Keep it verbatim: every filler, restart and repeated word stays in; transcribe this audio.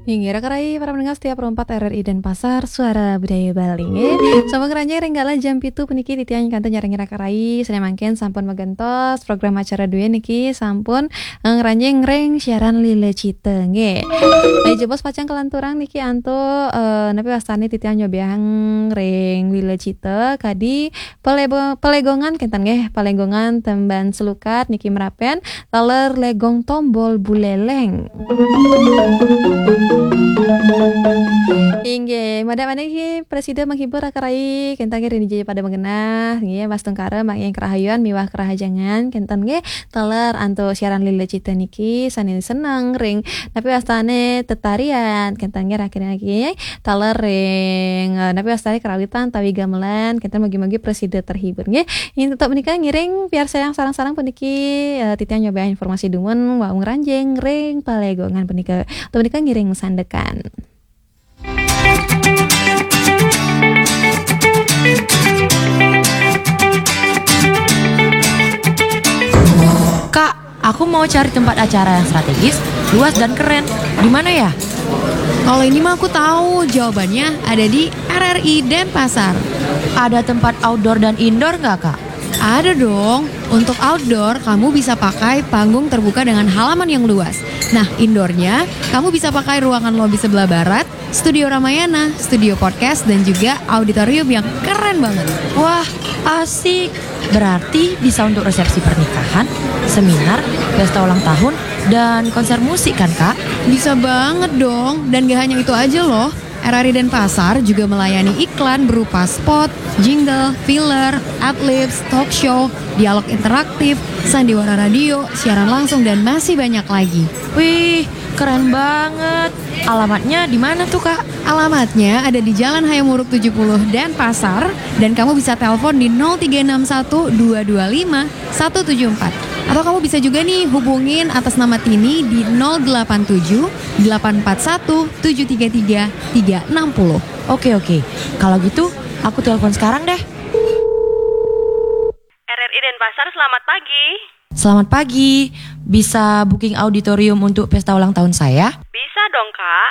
Inggih, Raka Rai, para pendengar setia Pro empat R R I Denpasar, Suara Budaya Bali, nggih. Sampun ngranjing ring galah jam pitu puniki titiang ingkang nyarengin Raka Rai, sané mangkin sampun magentos program acara dué niki sampun, eh, ngranjing ring siaran Lila Cita, nggih. Nah, jebos pacang kalanturang niki antuk, eh, napi wastané titiang nyobiahang ring Lila Cita, kadi Palebo-, Palegongan kénten nggih, Palegongan tembang selukat niki merapen, taler Legong Tombol Buleleng. Inggih, madak maniki prasida menghibur Raka Rai, kénten nggih ring dija pada magenah, nggih, mas tungkara manggihin karahayuan miwah karahajengan, kénten nggih, taler antuk siaran Lila Cita niki sané seneng ring napi wastané tetarian, kénten nggih rakin lagi. Taler ring, eh, napi wastané karawitan tawi gamelan, kénten mugi-mugi prasida terhibur nggih. Inggih, tetep menika ngiring piarsayang sareng-sareng puniki, eh, titiang nyobiahang informasi dumun wau ngranjing ring Palegongan punika. Tetep menika ngiring sandekan. Kak, aku mau cari tempat acara yang strategis, luas dan keren. Di mana ya? Kalau ini mah aku tahu, jawabannya ada di R R I Denpasar. Ada tempat outdoor dan indoor nggak, Kak? Ada dong. Untuk outdoor, kamu bisa pakai panggung terbuka dengan halaman yang luas. Nah, indoornya, kamu bisa pakai ruangan lobi sebelah barat, studio Ramayana, studio podcast, dan juga auditorium yang keren banget. Wah, asik. Berarti bisa untuk resepsi pernikahan, seminar, pesta ulang tahun, dan konser musik kan, Kak? Bisa banget dong. Dan gak hanya itu aja loh. R R I Denpasar juga melayani iklan berupa spot, jingle, filler, adlibs, talk show, dialog interaktif, sandiwara radio, siaran langsung, dan masih banyak lagi. Wih, keren banget. Alamatnya di mana tuh, Kak? Alamatnya ada di Jalan Hayam Wuruk tujuh puluh Denpasar, dan kamu bisa telepon di nol tiga enam satu dua dua lima satu tujuh empat. Atau kamu bisa juga nih hubungin atas nama Tini di nol delapan tujuh delapan empat satu tujuh tiga tiga tiga enam nol. Oke, oke. Kalau gitu, aku telepon sekarang deh. R R I Denpasar, selamat pagi. Selamat pagi. Bisa booking auditorium untuk pesta ulang tahun saya? Bisa dong, Kak.